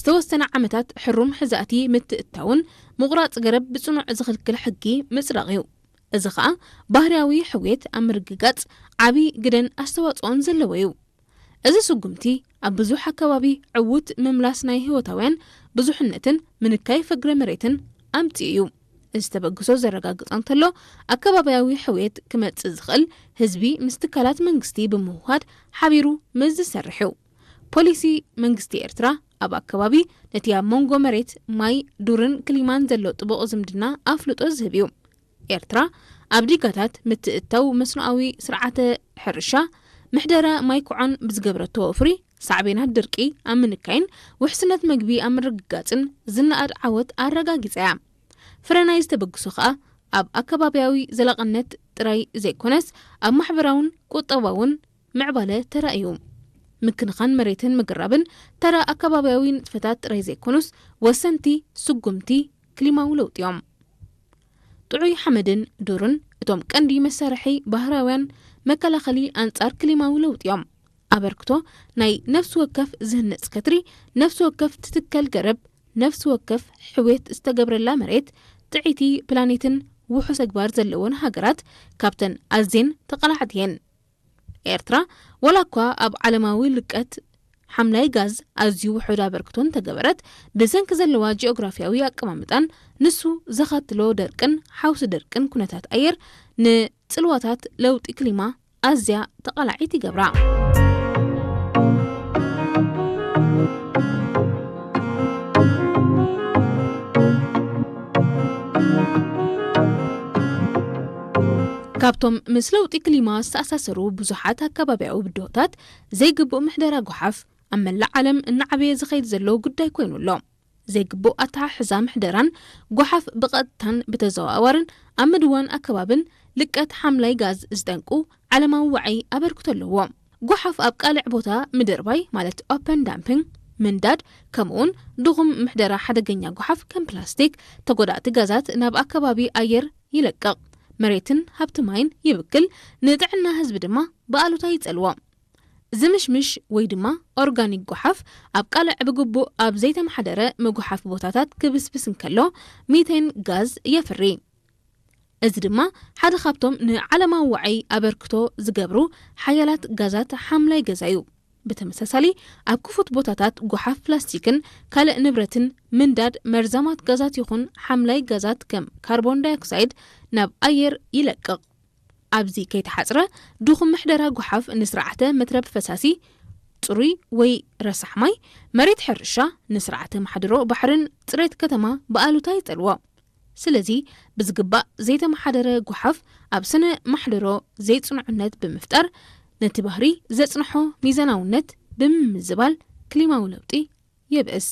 ዝተወሰነ ዓመታት ሕሩም ሕዛእቲ ምትእታውን ምቑራጽ ገረብ ብጽኑዕ ዝኽልክል ሕጊ ምጽዳቕ እዩ። እዚ ኸኣ ባህርያዊ ሕውየት ኣብ ምርግጋጽ ዓቢ ግደን ኣስተዋጽኦን ዘለዎ እዩ። እዚ ስጉምቲ ኣብ ብዙሕ ኣከባቢ ዕዉት ምምላስ ናይ ህይወታውያን ብዙሕነትን ምንካይ ፍግረ መሬትን ኣምጺኡ እዩ። እዚ ተበግሶ ዘረጋግጾ እንተሎ፣ ኣከባብያዊ ሕውየት ክመጽእ ዝኽእል ህዝቢ ምስ ትካላት መንግስቲ ብምውሃድ ሓቢሩ ምስ ዝሰርሕ እዩ። ፖሊሲ መንግስቲ ኤርትራ ኣብ ኣከባቢ ነቲ ኣብ መንጎ መሬት፣ ማይ፣ ዱርን ክሊማን ዘሎ ጥቡቕ ዝምድና ኣፍልጦ ዝህብ እዩ። ኤርትራ ኣብ ዲጋታት ምትእታው መስኖኣዊ ስርዓተ ሕርሻ፣ ምሕደራ ማይ ኮዖን ብዝገብረቶ ወፍሪ ሳዕቤናት ድርቂ ኣብ ምንካይን ውሕስነት መግቢ ኣብ ምርግጋጽን ዝነኣድ ዓወት ኣረጋጊጻ እያ። ፍረ ናይዚ ተበግሶ ከኣ ኣብ ኣከባብያዊ ዘላቕነት ጥራይ ዘይኮነስ ኣብ ማሕበራውን ቁጠባውን ምዕባለ ተራእዩ። ምክንኻን መሬትን ምግራብን ተራ ኣከባብያዊ ንጥፈታት ጥራይ ዘይኮኑስ ወሰንቲ ስጉምቲ ክሊማዊ ለውጢ እዮም። ጥዑይ ሓመድን ዱርን እቶም ቀንዲ መሳርሒ ባህርያውያን መከላኸሊ ኣንጻር ክሊማዊ ለውጢ እዮም። ኣበርክቶ ናይ ነፍሲ ወከፍ ዝህነጽ ከትሪ፣ ነፍሲ ወከፍ ትትከል ገረብ፣ ነፍሲ ወከፍ ሕውየት ዝተገብረላ መሬት፣ ጥዕይቲ ፕላኔትን ውሑስ ተግባር ዘለወን ሃገራት ካብተን ኣዝየን ተቓላዕቲ እየን። ኤርትራ፣ ዋላ እኳ ኣብ ዓለማዊ ልቀት ሓምላይ ጋዝ ኣዝዩ ውሑድ ኣበርክቶ እንተገበረት፣ ብሰንኪ ዘለዋ ጂኦግራፍያዊ ኣቀማምጣን ንሱ ዘኸትሎ ደርቅን ሓውሲ ደርቅን ኩነታት ኣየር ንጽልዋታት ለውጢ ክሊማ ኣዝያ ተቓላዒት ይገብራ። ካብቶም ምስ ለውጢ ክሊማ ዝተኣሳሰሩ ብዙሓት ኣከባብያዊ ብድሆታት፣ ዘይግቡእ ምሕደራ ጓሓፍ ኣብ መላእ ዓለም እናዓበየ ዝኸይድ ዘሎ ጉዳይ ኮይኑ ኣሎ። ዘይግቡእ ኣተሓሕዛ ምሕደራን ጓሓፍ ብቐጥታን ብተዘዋዋርን ኣብ ምድዋን ኣከባብን ልቀት ሓምላይ ጋዝ ዝጠንቁ ዓለማዊ ዋዒ ኣበርክቶ ኣለዎ። ጓሓፍ ኣብ ቃልዕ ቦታ ምድርባይ፣ ማለት ኦፐን ዳምፒንግ፣ ምንዳድ፣ ከምኡውን ድኹም ምሕደራ ሓደገኛ ጓሓፍ ከም ፕላስቲክ፣ ተጎዳእቲ ጋዛት ናብ ኣከባቢ ኣየር ይለቅቕ፣ መሬትን ሃብቲ ማይን ይብክል፣ ንጥዕና ህዝቢ ድማ ብኣሉታ ይጸልዎ። ዝምሽምሽ ወይ ድማ ኦርጋኒክ ጓሓፍ ኣብ ቃልዕ ብግቡእ ኣብ ዘይተመሓደረ መጉሓፊ ቦታታት ክብስብስ እንከሎ፣ ሚቴን ጋዝ የፍሪ። እዚ ድማ ሓደ ካብቶም ንዓለማዊ ዋዒ ኣበርክቶ ዝገብሩ ሓያላት ጋዛት ሓምላይ ገዛ እዩ። ብተመሳሳሊ፣ ኣብ ክፉት ቦታታት ጓሓፍ ፕላስቲክን ካልእ ንብረትን ምንዳድ መርዛማት ጋዛት ይኹን ሓምላይ ጋዛት ከም ካርቦን ዳይኦክሳይድ ናብ ኣየር ይለቅቕ። ኣብዚ ከይተሓጽረ፣ ድኹም ምሕደራ ጓሓፍ ንስርዓተ መትረብ ፈሳሲ፣ ጽሩይ ወይ ረሳሕ ማይ፣ መሬት ሕርሻ፣ ንስርዓተ ማሕደሮ ባሕርን ጽሬት ከተማ ብኣሉታ ይጸልዎ። ስለዚ፣ ብዝግባእ ዘይተመሓደረ ጓሓፍ ኣብ ስነ ማሕደሮ ዘይጽኑዕነት ብምፍጣር፣ ነቲ ባህሪ ዘጽንሖ ሚዛናውነት ብምምዝባል ክሊማዊ ለውጢ የብእስ።